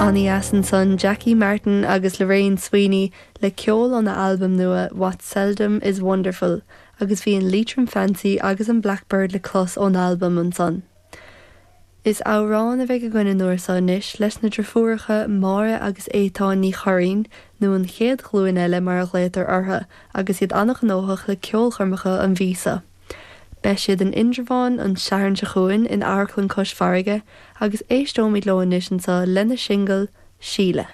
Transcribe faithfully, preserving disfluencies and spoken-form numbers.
An-deas ansan Jackie Martin agus Lorraine Sweeney le ceol óna albam nua What Seldom is Wonderful, agus bhí an Leitrim Fancy agus an Blackbird le clos ón albam ansan. Is amhrán a bheidh againn an uair seo anois leis na deirfiúracha Máire agus Étáin Ní Churraoin nó an chéad ghlúin eile mar a ghlaotar orthu agus iad an-ghnóthach le ceolchoirmeacha an mhí seo. Beidh siad in Indreabhán an Satharn seo chugainn in Amharclann Cois Farraige agus éisteoimid leo anois anseo lena singil Síle.